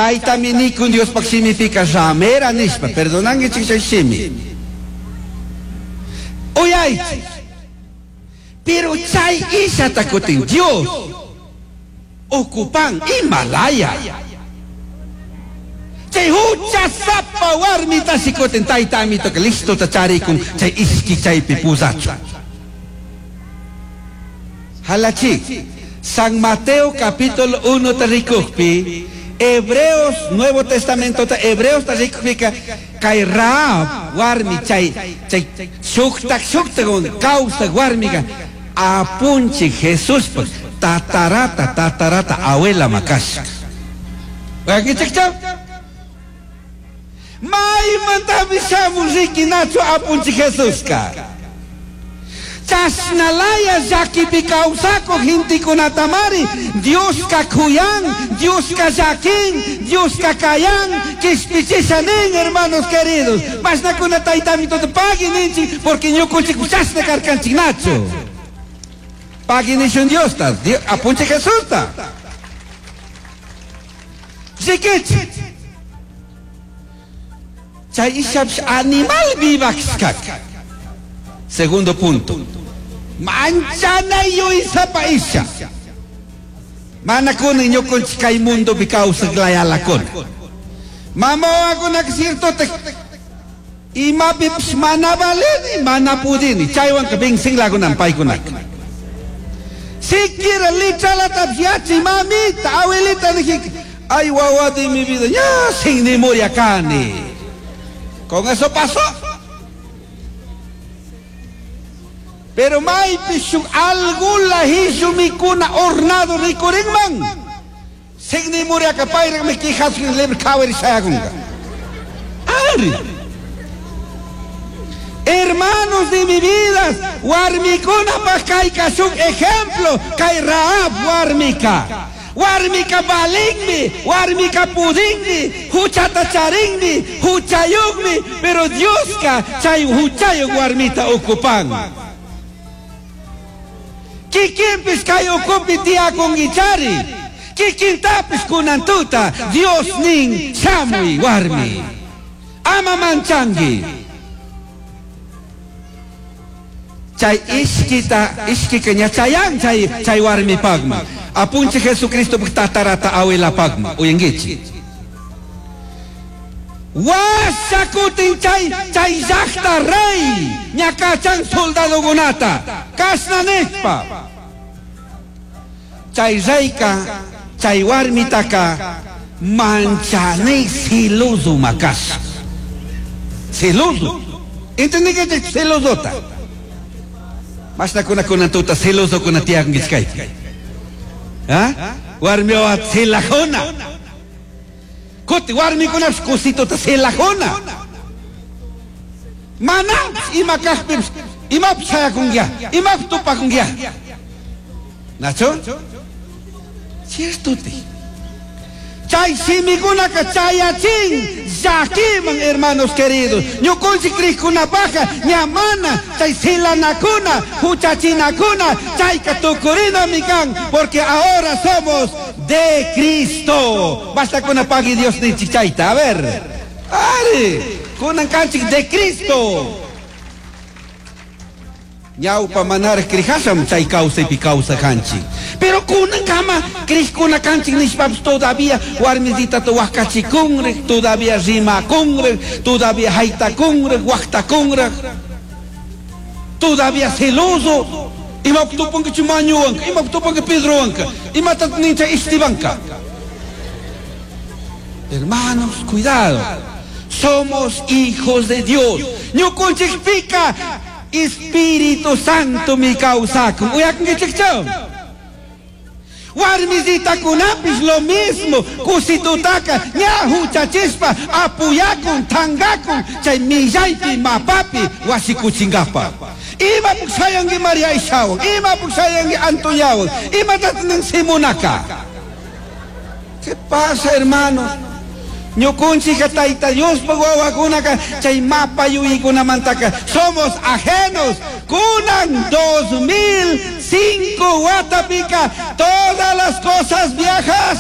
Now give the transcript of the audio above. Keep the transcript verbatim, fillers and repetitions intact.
Chaytami nikun Diospaq shimipika ramera nishpa, perdonankichik chay shimi. Uyaychik. Pero chay ishata kutin Dios ocupan Himalaya. Chay huchasapa warmita shikutin tayta amitoka listo charikun chay ishki chaypi pusachu. Halachi, San Mateo capítulo uno tarikukpi, Hebreos, Nuevo Testamento, ta Hebreos tarikukpika, kay Rahab warmi chay chay shuktak shuktak kawsak warmiga apunchi Jesús tatarata tatarata abuela makash. Maymantami shamun rikinachu apunchi Jesuska. Chashnalaya llakipi kawsakuq gentikunatamari Dioska kuyan, Dioska llakin, Dioska kayan, kishpichisha nin, hermanos queridos. Mashnakuna taytami tota pagui ninchik porque ñukunchik chashna karkanchik nachu. Pagui nishun Diosta, apunchi Jesusta. Rikichik. Chay ishapish animal vivakshkak. Segundo punto. Manchana yuysapa isha. Mana kunan ñukunchik kay mundopi kawsaq layalakuna. Mama wawakunaka ciertotak imapipish mana valini, mana pudini. Chaywanka vencinlakunan paykunaka. Siquiera litralatapish yachay mamita, abuelita nijika, ay wawa de mi vida, ya sin ni muriakani. Con eso pasó. Pero maypi shuk algula hishumikuna hornado rikurinman. Signi muriaka payraqmi quijasqin libre kawari shayakunqa. Ari. Hermanos de mi vida, warmikunapaq kayka shuk ejemplo, kay Rahab warmika. Warmika valinmi, warmika pudinmi, huchata charinmi, huchayuqmi, pero Dioska chay huchayuq warmita ocupan. Kikinpis kay ukupi tiyakunkichari, kikintapis kunantuta, Dios nin shamuy warmi. Ama manchanki. Chay ishkita, ishkika ña chayan chay, chay warmipaqman. Apunchi Jesucristo tatarata abuelapaqman. Uyankichik. Washakutin chay, chay llaqta rey ñakachan soldadokunata. Kashna nishpa. Chay reyka, chay warmitaka manchanay celoso makash. Celoso. ¿Entendí celosota? Mashnakuna kunantuta celoso kuna tiyankichkay. ¿Ah? Warmiwa celajona. Kuti warmikunapish kusituta celajona. Mana ima kaqpipish imapish shayakunkiya, imapish tupakunkiya. ¿Nacho? Cierto te. Chay shimikunaka chayachin llakiman, hermanos queridos. Ñukunchik krikkunapaqa ñamana chay silanakuna, huchachinakuna, chayka tukurinami kan, porque ahora somos de Cristo. Basta con pagui Dios ninchik chayta. A ver. Ari, kunan kanchik de Cristo. Ñawpa manaraq krijasham chay kawsaypi kawsakanchik. Pero kunankama krikuna kanchik nishpapis todavía warmisitata waqachikunraq, todavía rimakunraq, todavía haytakunraq, waqtakunraq, todavía celoso. Imapaq tupanki Chumañuwanka, imapaq tupanki Pedrowanka, imatataq nin chay Estebanka. Hermanos, cuidado. Somos hijos de Dios. Ñukunchikpika Espíritu Santo mi kawsakun. Uyakunkichikchu. Warmisitakunapis lo mismo. Kusitutaka ña huchachispa apuyakun, tangakun chay millaypi mapapi wasikuchinkapa. Imapaq shayanki María Ishawan, imapaq shayanki Antoñawan, imatataq nin Simonaka. ¿Qué pasa, hermanos? Ñukunchika tayta Diospaq wawakunaka chay mapa yuyaykunamantaka somos ajenos. Kunan dos mil cinco watapika todas las cosas viejas